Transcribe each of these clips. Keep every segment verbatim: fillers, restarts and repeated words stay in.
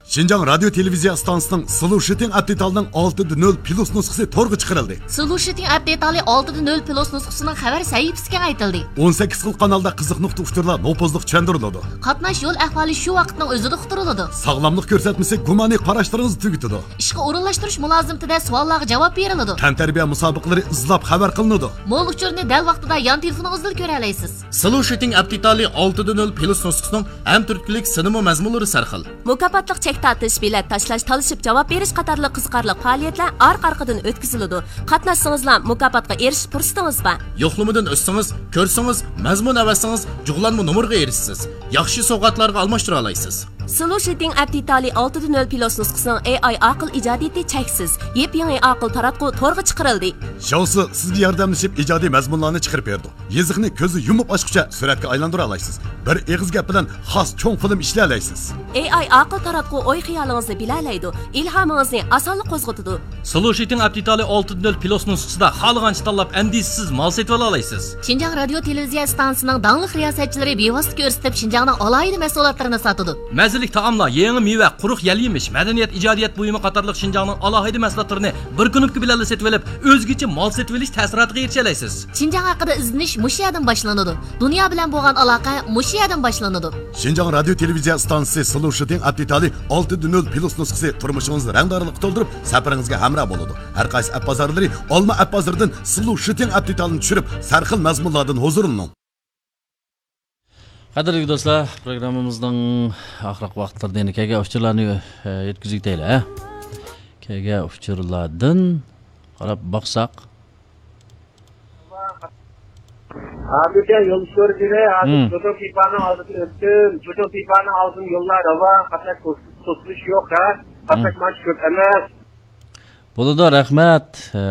شىنجاڭ رادىيو تېلېۋىزىيە ئىستانسىسىنىڭ سلوشىتىڭ ئەپ دېتالىنىڭ ئالتىدە نۆل پلۇس نۇسخىسى تورغا چىقىرىلدى. سلوشىتىڭ ئەپ دېتالى ئالتىدە نۆل پلۇس نۇسخىسىنىڭ خەۋەر سەھىپىسى كېڭەيتىلدى. ئون سەككىز خىل قانالدا قىزىق نۇقتا ئۇچۇرلار نوپۇزلۇق چۈشەندۈرۈلىدۇ. قاتناش يول ئەھۋالى شۇ ۋاقىتنىڭ ئۆزىدە ئۇقتۇرۇلىدۇ. ساغلاملىق كۆرسەتمىسى گۇمانىي قاراشلىرىڭىزنى تۈگىتىدۇ. ئىشقا ئورۇنلاشتۇرۇش مۇلازىمىتىدە سوئاللارغا جاۋاب بېرىلىدۇ. تەنتەربىيە مۇسابىقىلىرى ئىزلاپ خەۋەر قىلىنىدۇ. مول ئۇچۇرنى دەل ۋاقتىدا يان تېلېفونىڭىزدىلا كۆرەلەيسىز. سلوشىتىڭ ئەپ دېتالى ئالتىدە نۆل پلۇس نۇسخىسىنىڭ ھەم تۈرتكىلىك سىنىمۇ مەزمۇنلىرى سەرخىل. مۇكاپاتلىق چەك تارتىش، بېلەت تاشلاش، تالىشىپ جاۋاب بېرىش قاتارلىق قىزىقارلىق پائالىيەتلەر ئارقا-ئارقىدىن ئۆتكۈزۈلىدۇ. قاتناشسىڭىزلا مۇكاپاتقا ئېرىشىش پۇرسىتىڭىز بار. يوقلىمىدىن ئۆتسىڭىز، كۆرسىڭىز، مەزمۇن ئەۋەتسىڭىز، جۇغلانما نومۇرغا ئېرىشىسىز. ياخشى سوۋغاتلارغا ئالماشتۇرالايسىز. سلوشىتىڭ ئەپ دېتالى ئالتىدە نۆل پلۇس نۇسخىسىنىڭ ئېي ئاي ئاقىل ئىجادىيىتى چەكسىز. يېپيېڭى ئاقىل تاراتقۇ تورغا چىقىرىلدى. شاۋسى سىزگە ياردەملىشىپ ئىجادىي مەزمۇنلارنى چىقىرىپ بېرىدۇ. يېزىقنى كۆزنى يۇمۇپ ئاچقۇچە سۈرەتكە ئايلاندۇرالايسىز. بىر ئېغىز گەپ بىلەن خاس چوڭ فىلىم ئىشلىيەلەيسىز. ئېي ئاي ئاقىل تاراتقۇ ئوي-خىيالىڭىزنى بىلەلەيدۇ، ئىلھامىڭىزنى ئاسانلا قوزغىتىدۇ. سلوشىتىڭ ئەپ دېتالى ئالتىدە نۆل پلۇس نۇسخىسىدا خالىغانچە تاللاپ، ئەندىشىسىز مال سېتىۋالالايسىز. شىنجاڭ رادىيو تېلېۋىزىيە ئىستانسىسىنىڭ داڭلىق رىياسەتچىلىرى بىۋاسىتە كۆرسىتىپ، شىنجاڭنىڭ ئالاھىدە مەھسۇلاتلىرىنى ساتىدۇ. مەززىلىك تائاملار، يېڭى مېۋە، قۇرۇق يەل-يېمىش، مەدەنىيەت، ئىجادىيەت بۇيۇمى قاتارلىق شىنجاڭنىڭ ئالاھىدە مەھسۇلاتلىرىنى بىر كۇنۇپكا بىلەنلا سېتىۋېلىپ، ئۆزگىچە مال سېتىۋېلىش تەسىراتىغا ئېرىشەلەيسىز. شىنجاڭ ھەققىدە ئىزدىنىش مۇشۇ يەردىن باشلىنىدۇ. دۇنيا بىلەن بولغان ئالاقە مۇشۇ يەردىن باشلىنىدۇ. شىنجاڭ رادىيو تېلېۋىزىيە ئىستانسىسى سلوشىتىڭ ئەپ دېتالى ئالتىدە نۆل پلۇس نۇسخىسى تۇرمۇشىڭىزنى رەڭدارلىققا تولدۇرۇپ، سەپىرىڭىزگە ھەمراھ بولىدۇ. ھەر قايسى ئەپ بازارلىرى، ئالما ئەپ بازىرىدىن سلوشىتىڭ ئەپ دېتالىنى چۈشۈرۈپ، سەرخىل مەزمۇنلاردىن ھۇزۇرلىنىڭ. قەدىرلىك دوستلار، پروگراممىمىزنىڭ ئاخىرقى ۋاقىتلىرىدا يەنە كەلگەن ئۇچۇرلارنى، ئە، يەتكۈزۈپ ئۆتەيلى، ھە؟ كەلگەن ئۇچۇرلاردىن قاراپ باقساق. ھازىرچە يول ئۇچۇرى، ھازىر مم. جوجو پىپانىڭ ئالدىدىن ئۆتتۈم. جوجو پىپانىڭ ئالدىدىن يوللار راۋان، قاتناش توس-، توسۇلۇش يوق، ھە؟ قاتناش مم. مانچە كۆپ ئەمەس. بولىدۇ، رەھمەت. ئە،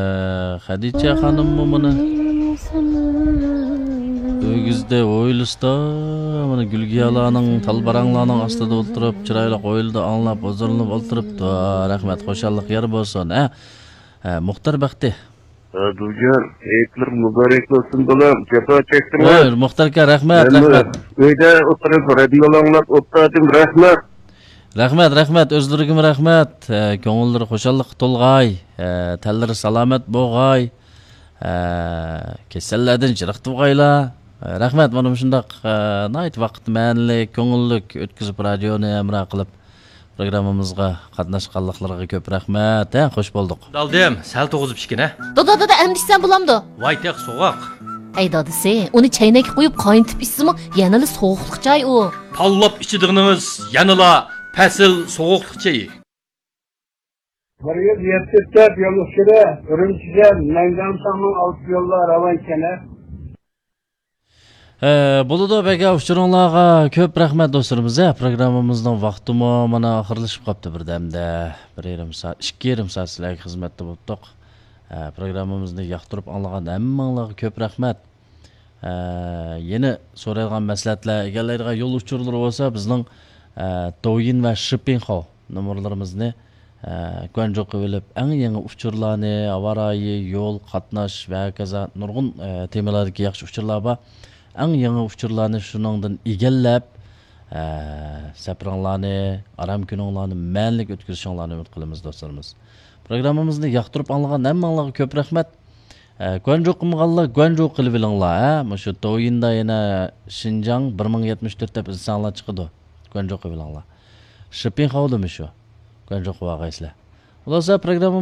خەدىچە خانىممۇ مانا ئۆگزىدە ھويلىسىدا، مانا گۈلگىيالارنىڭ، تال باراڭلارنىڭ ئاستىدا ئولتۇرۇپ، چىرايلىق ھويلىدا ئاڭلاپ، ھۇزۇرلىنىپ ئولتۇرۇپتۇ. رەھمەت، خۇشاللىق يار بولسۇن، ھە؟ ھە، مۇختەر بەختى. ھە، دۇجان، ھېيتلىرىڭ مۇبارەك بولسۇن، بالام. جاپا چەكتىڭلار. ھەي، مۇختەر ئاكا، رەھمەت، مەنمۇ رەھمەت. ئۆيدە ئولتۇرۇپ رادىيو ئاڭلاپ ئولتۇردۇم، رەھمەت. رەھمەت، رەھمەت، ئۆزلىرىگىمۇ رەھمەت. ھە، كۆڭۈللىرى خۇشاللىققا تولغاي. ھە، تەنلىرى سالامەت بولغاي. ھە، كېسەللەردىن يىراق تۇرغايلا. ھە، رەھمەت، مانا مۇشۇنداق، ھە، ناھايىتى ۋاقىت مەنىلىك، كۆڭۈللۈك ئۆتكۈزۈپ، رادىيونى ھەمراھ قىلىپ، پروگراممىمىزغا قاتناشقانلىقلىرىغا كۆپ رەھمەت، ھە، خوش بولدۇق. دالدىم، سەل توغۇزۇپ ئىچكىن، ھە؟ دادا، دادا، ئەمدى ئىچسەم بولامدۇ؟ ۋاي تېخى سوغۇق. ئەي دادىسى، ئۇنى چەينەككە قويۇپ قاينىتىپ ئىچسىمۇ يەنىلا سوغۇقلۇق چاي ئۇ. تاللاپ ئىچىدىغىنىڭىز يەنىلا پەسىل سوغۇقلۇق چېيى. بىر يۈز يەتتە دەپ يول ئۇچۇرى، ئۈرۈمچىدىن مەيدانساڭنىڭ ئالدىدا يوللار راۋان ئىكەن، ھە؟ ھە، بولىدۇ، بەگە ئۇچۇرۇڭلارغا كۆپ رەھمەت دوستلىرىمىز. ھە، پروگراممىمىزنىڭ ۋاقتىمۇ مانا ئاخىرلىشىپ قاپتۇ بىردەمدە. بىر يېرىم سائەت، ئىككى يېرىم سائەت سىلەرگە خىزمەتتە بولۇپتۇق. ھە، پروگراممىمىزنى ياقتۇرۇپ ئاڭلىغان ھەممىڭلارغا كۆپ رەھمەت. ھە، يەنە سورايدىغان مەسلىھەتلەر، ئىگىلەيدىغان يول ئۇچۇرلىرى بولسا بىزنىڭ، ھە، دوۋيىن ۋە شىپىڭخاۋ نومۇرلىرىمىزنى ئە، گۇەنجۇ قىلىۋېلىپ، ئەڭ يېڭى ئۇچۇرلارنى، ھاۋا رايى، يول، قاتناش ۋە ھاكازا نۇرغۇن، ئە، تېمىلاردىكى ياخشى ئۇچۇرلار بار. ئەڭ يېڭى ئۇچۇرلارنى شۇنىڭدىن ئىگىلەپ، ئە، سەپىرىڭلارنى، ئارام كۈنۈڭلارنى مەنىلىك ئۆتكۈزۈشۈڭلارنى ئۈمىد قىلىمىز، دوستلىرىمىز. پروگراممىمىزنى ياقتۇرۇپ ئاڭلىغان ھەممىڭلارغا كۆپ رەھمەت. ئە، گۇەنجۇ قىلمىغانلار گۇەنجۇ قىلىۋېلىڭلار، ھە. مۇشۇ دوۋيىندا يەنە شىنجاڭ بىر مىڭ يەتمىش تۆت دەپ ئىزدىسەڭلار چىقىدۇ. گۇەنجۇ قىلىۋېلىڭلار. شىپىڭخاۋدىمۇ شۇ. گۇەنجۇ قىلىۋالغايسىلەر. خۇلاسە، پروگرامما